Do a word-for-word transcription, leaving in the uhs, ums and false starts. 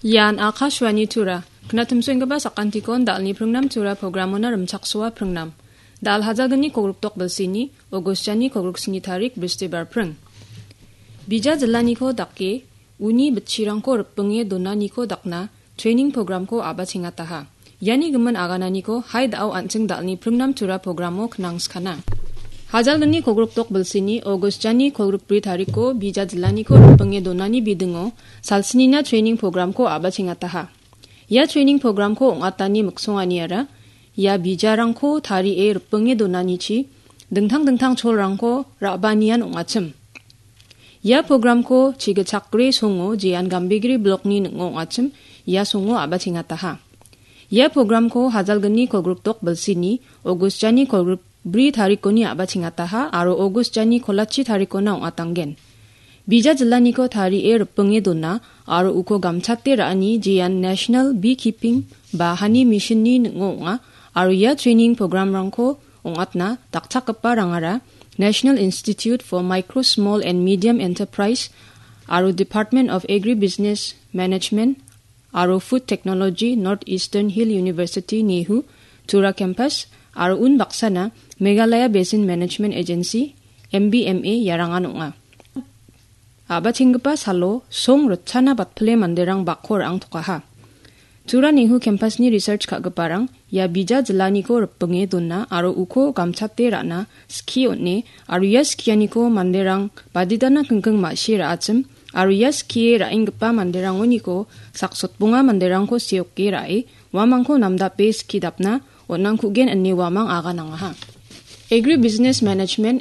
Ian Akashvani Tura. Knatimsoenggipa sakantikon dalni pringnam Tura programona rimchaksoa pringnam. Dal hajalgni kogrikdok bilsini, August jani kogrikni tarik, Bristibar pring. Bija jillaniko dake, uni bitchirangko ripinge donaniko dakna training programko a·bachengataha. Iani gimin agananiko hai da·o an·ching dalni pringnam Tura programo knangskana. Hajalgni kogrikdok bilsini, August jani kogrikbri tariko, bija jillaniko ripinge donani bidingo, salsnina training programko a·bachengataha. Ia training programko ong·atani miksonganiara, ia bijarangko tarie ripinge donanichi, dingtang dingtang cholrangko ra·banian ong·achim. Ia programko chigitchakgre songo jean Gambegre blokni ning·o ong·achim, ia songo a·bachengataha. Ia programko hajalgni kogrikdok bilsini, August jani kogrikbri tarikoni a·bachengataha aro August jani kolachi tarikona ong·atanggen. Bija jillaniko tarie ripinge dona aro uko gamchate ra·ani jean National Beekeeping ba Honey Missionni ning·o ong·a aro ia training programrangko ong·atna dakchakgipa rangara National Institute for Micro, Small and Medium Enterprise aro Department of Agribusiness Management aro Food Technology, North Eastern Hill University, NEHU, Tura Campus, aro unbaksana Meghalaya Basin Management Agency, M B M A, iarangan ong·a. A·bachenggipa salo song ritchana batpile manderang bakko ra·angtokaha. Tura NEHU campusni research ka·giparang ia bija jillaniko ripinge dona aro uko gamchate ra·na skie on·e aro ia skianiko manderang baditana kingking ma·sie ra·achim aro ia skie ra·enggipa manderangoniko saksotbonga manderangko seoke ra·e uamangko namdape skie dapna on·angkugen ine uamang aganangaha. Agribusiness Management